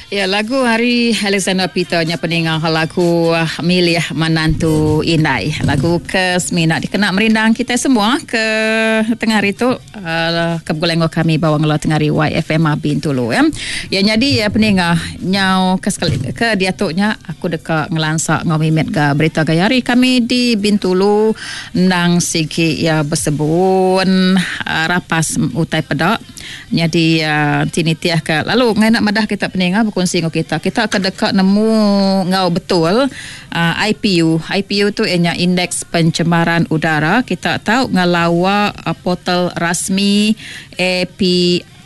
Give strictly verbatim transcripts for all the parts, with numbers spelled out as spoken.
Ya, lagu hari Alexander Peter nya peninga lagu Milih Menantu Indai. Lagu ke semina dikena merindang kita semua ke tengah hari tu uh, ke begulai enggau kami bawa ngela tengah hari Y F M Bintulu ya. Ya jadi ya peninga nyau ke sekali ke diatu nya aku deka ngelansa ngau mimit ga berita gaya hari kami di Bintulu ndang sigi ya bersebun uh, rapas utai peda. Jadi uh, tinitiah ke lalu ngai nak madah kita peninga berkongsi dengan kita. Kita akan dekat nemu ngau betul uh, I P U. I P U tu ianya Indeks Pencemaran Udara. Kita tahu ngelawa uh, portal rasmi A P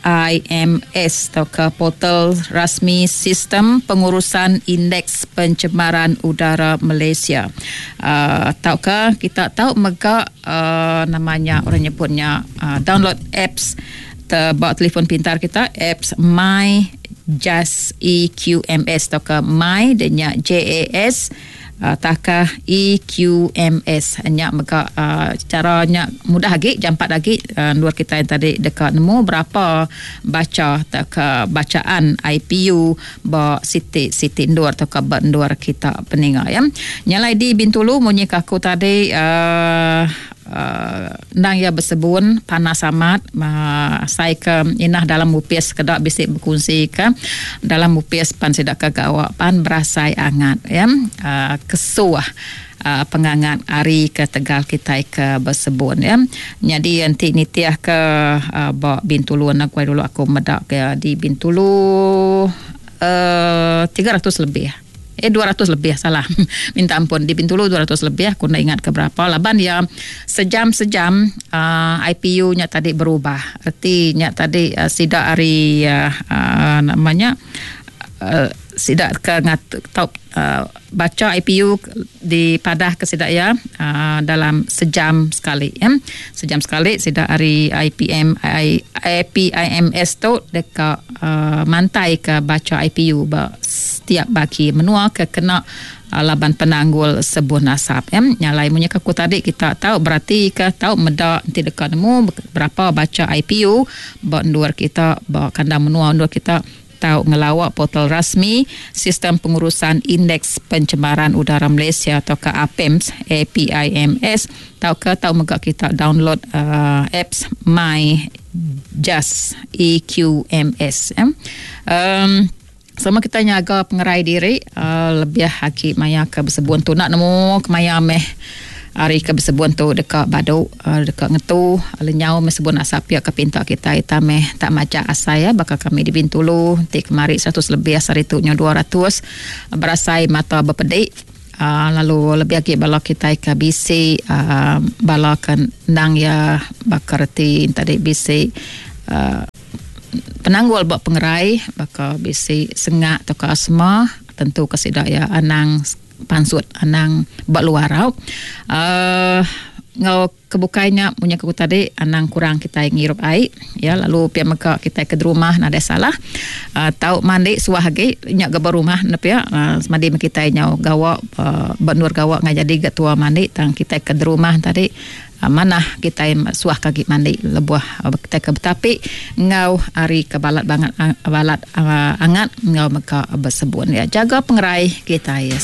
I M S atau ke portal rasmi Sistem Pengurusan Indeks Pencemaran Udara Malaysia. Uh, tahu ke kita tahu mega uh, namanya orang nyebutnya uh, download apps bawa telefon pintar kita, apps My J A S E Q M S atau ke My denya J A S uh, takah E Q M S. Nya mega uh, caranya mudah lagi, jampat lagi uh, luar kita yang tadi dekat nemu berapa baca tak ke bacaan I P U ba siti siti ndur atau ke ba ndur kita peninga ya. Nyalai di Bintulu munyi aku tadi uh, Uh, nang ya bersebun panas amat uh, saya ke inah dalam upis kedak bisik berkongsi ke dalam upis pan sidak ke gawak pan berasai angat ya uh, kesuah uh, pengangat hari ke Tegal kita ke bersebun ya. Jadi nanti nitiah ke uh, ba Bintulu nak kuai dulu aku medak ke di Bintulu uh, tiga ratus lebih. Eh dua ratus lebih salah. Minta ampun di Bintulu dua ratus lebih aku nak ingat ke berapa laban ya sejam-sejam uh, I P U nya tadi berubah. Artinya tadi uh, sidak hari uh, uh, namanya uh, sidak ke ngat top uh, baca I P U di padah ke sidak ya uh, dalam sejam sekali ya. Sejam sekali sidak hari I P M I, A P I M S tu dekat uh, mantai ke baca I P U ba setiap bagi menua ke kena uh, laban penanggul sebun asap ya. Nyalai punya aku tadi kita tahu berarti ke tahu medak nanti dekat nemu berapa baca I P U ba ndur kita ba kandang menua ndur kita tahu ngelawak portal rasmi Sistem Pengurusan Indeks Pencemaran Udara Malaysia atau ke A P I M S, A P I M S, tahu ke tahu mega kita download uh, apps My J A S E Q M S. Ya. Um, sama kita nyaga pengerai diri uh, lebih haki maya ke bersebun tu nak nemu kemaya meh hari ke bersebun tu dekat baduk uh, dekat ngetu lenyau mesebun asap pihak ke pinta kita ita meh tak maca asai ya bakal kami di Bintulu ti kemari seratus lebih asal itu nya dua ratus berasai mata berpedik uh, lalu lebih lagi bala kita ke B C uh, bala kendang ya bakal reti tadi B C uh, penanggul buat pengerai bakal B C sengak atau ke asma tentu kesidak ya anang pansut anang bak luar rau. Uh, ngau kebukainya punya aku tadi anang kurang kita ngirup air ya lalu pia meka kita ke rumah nada salah uh, tau mandi suah lagi nyak ke rumah nep ya uh, mandi kita nyau gawak uh, benur gawak ngai jadi getua mandi tang kita ke rumah tadi uh, mana kita suah kaki mandi lebuah uh, kita ke betapi ngau hari ke balat banget uh, balat uh, angat ngau meka bersebun ya jaga pengerai kita ya.